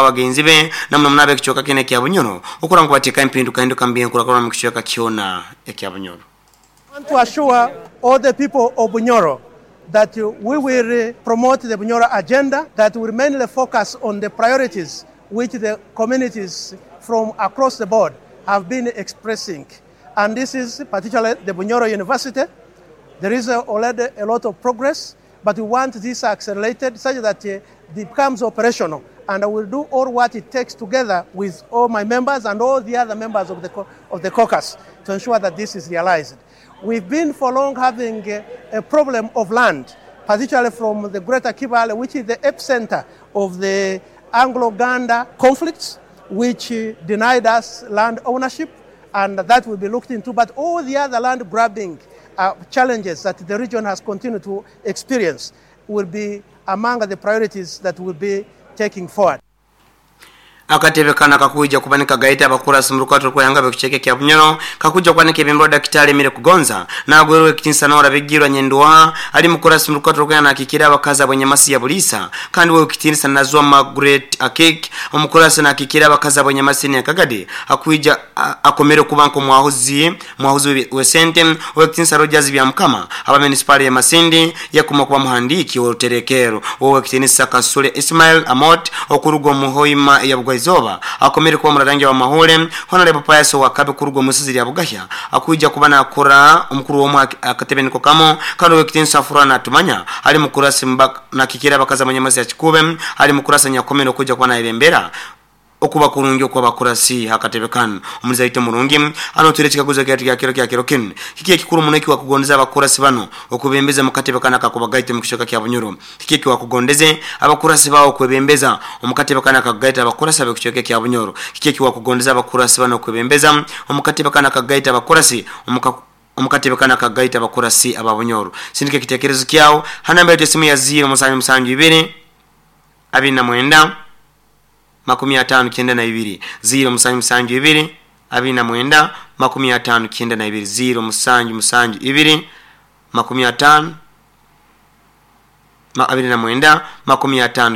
Bagenzi be namuno muno ab'ekicweka kinu ekya Bunyoro okurora ngu bateekaho empindukahinduka mu by'enkurakurana omu kicweka kyona ekya Bunyoro. I want to assure all the people of Bunyoro that we will promote the Bunyoro agenda that will mainly focus on the priorities which the communities from across the board have been expressing and this is particularly the Bunyoro University. There is already a lot of progress but we want this accelerated such that it becomes operational and I will do all what it takes together with all my members and all the other members of the caucus to ensure that this is realized. We've been for long having a problem of land, particularly from the Greater Kibale, which is the epicenter of the Anglo-Ganda conflicts, which denied us land ownership, and that will be looked into. But all the other land grabbing challenges that the region has continued to experience will be among the priorities that will be taking forward. Akatebe kana kakuija kuba nikagaita abakurasi mu rukato rw'ihanga b'ekicweka ekya Bunyoro kakuija kuba nikebembera Dakitari Emile Kugonza nagwerwa ekitinisa Nora Bigirwa Nyendwa ali mukurasi mu rukato rw'ihanga nakikira abakazi ab'enyamasi ya Bulisa kandi we ekitinisa Nazwa Margaret Akek omukurasi nakikira abakazi ab'enyamasi ya Kagadi akuija akomere kuba nko mwahuzi wesente owekitinisa Rogers Byamukama aba municipal ya Masindi yakuma kuba muhandiki w'oruterekero owekitinisa Kasule Ismail Amot okuruga mu Hoima ya Bugwaizoba akomere kuba murarangi wa mahole Honorable Pius Wakabe kuruga musizi ya Bugahya akuija kuba nakora omukuru w'omu akatebe niko kamo kandi owekitinisa Furana Tumanya ali mukurasi na kikira bakaza manyamasi ya Kikube ali mukurasa nyakomere okuja kuba naibembera okuba kurungi okuba bakurasi hakatebe kanu omuzaito murungi ano ture kikaguzo kya kiro kinu kiki ekikuru muneki wa kugondeza abakurasi bano okubembeza mukatebe kana akakubagaita mu kishoka kya Bunyoro kiki eki wakugondeze abakurasi bawo kwebembeza omukatebe kana akagaita abakurasi ab'ekicweka kya Bunyoro kiki eki wakugondeza abakurasi bano kwebembeza omukatebe kana akagaita abakurasi omukatebe kana akagaita abakurasi aba Bunyoro. Sindike kitekerezo kyao hanamba yetu simu ya 0772 29 59 072 29 59 072 50 29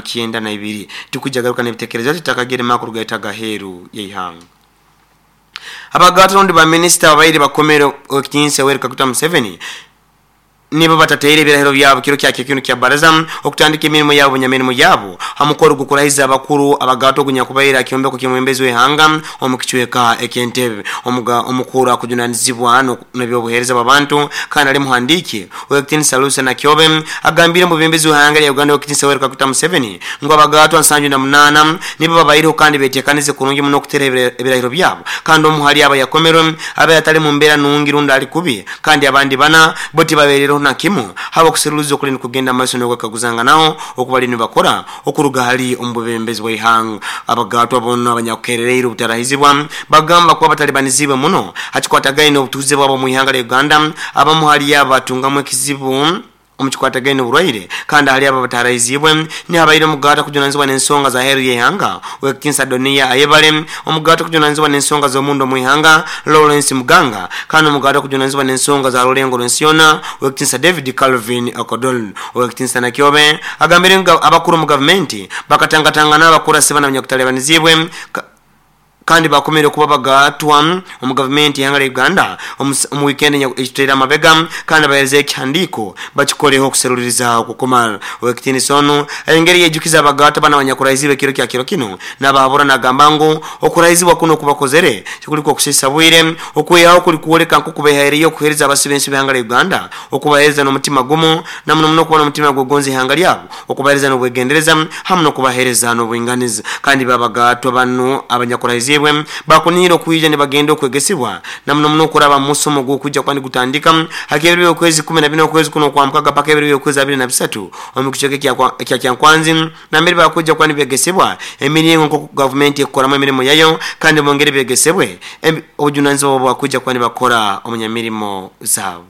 59 tukujagaruka n'ebitekerezo tutakagere makuru gaita gaheru yeihanga. Abagatondo ba minister abaire bakomero okitinsa Yoweri Kaguta Museveni nibo batateire ebirahiro byabo kiro kya kino kya baraza okutandika emirimo yabo nyamirimo yabo hamukoro gukurahiza abakuru abagato gunyakubaira kyombeko kimwembezi wehanga omukicweka ekentebe omukuru akujunanizibwa n'ebyobuhereza b'abantu kandi ali muhandiki owekitinisa Lucy Nakyobe agambire mu bembezi wehanga ya Uganda owekitinisa Yoweri Kaguta Museveni ngo abagato 78 nibo babairiho kandi betekanize kurungi muno okutera ebirahiro byabo kandi omuhali aba yakomerwe aba yatali mu mbeera nungi runda ali kubi kandi abandi bana boti baberero na kimu haba kuseruliza okuli kugenda maaso n'okwekaguzanga naho okubali nibakora okuruga hali omubembezi w'ihanga. Abagatwa bonna abanyakukerereire obutarahizibwa bagamba kuba batalibanizibwe muno hakikwatagaine obutuuze bwabo mu ihanga lya Uganda abamu hali abatungamu ekizibu omukikwatagaine oburwaire kandi hali aba batarahizibwe ni habaire omugata kujunanizibwa n'ensonga za heru y'ihanga owekitinisa Donia Ayebare omugata kujunanizibwa n'ensonga z'omundo mu ihanga Lawrence Muganga kandi omugata kujunanizibwa n'ensonga za Rulengo Lwensiona owekitinisa David Calvin Okodol. Owekitinisa Nakyobe agambire nga abakuru mu gavumenti bakatangatangana abakurasi bana abanyakutalibanizibwe kandi bakomere kuba bagatwa omu gavumenti y'ihanga lya Uganda omu weekend ekitera amabega kandi bahereze ekihandiiko bakikoreho okuseruliriza okukumala. Owekitinisa ono engeri yejukiza abagatwa bana abanyakurahiziibwe ekiro kya kiro kino n'abahabura nagamba ngu okurahizibwa kuno okubakozere kikuliko okusisa bwire okwehaho kuli kuoleka nk'okubehaireyo okuhereza abasi b'ensi b'ihanga lya Uganda okubahereza n'omutima gumu na muno muno okuba n'omutima gw'okugonza ihanga lyabo okubahereza n'obwegendereza hamu n'okubahereza n'obwinganiza. Kandi babagatwa bano abanyakurahiziibwe bakunira okuija nibagenda okwegesibwa na muno muno okuraba musomo gw'okujja kwani gutandika hakebiri okwezi 14 okwezi kuno kwa mukaga paka ebiri okwezi 23 omu kicweka kya Kyankwanzi nambere bakujja kwani begesibwa emirimu nko gavumenti ekoramu emirimu yayo kandi bongere begesebwe obujunanizibwa bwakujja kwani bakora omunyamirimo zaabo.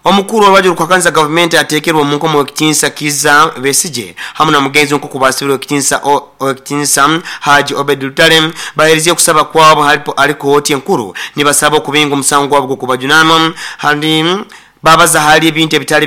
Omukuru w'abajuru kwakanza gavumenti ateekerwa omu nkomo w'ekitinsa Kizza Besigye hamu na mugenzi nk'okubasibirwa ekitinsa Haji Obed Lutale baherezie okusaba kwabo hali kooti enkuru nibasaba okubinga omusango gwabo gw'okubajunanwa hali babaza hali ebintu ebitali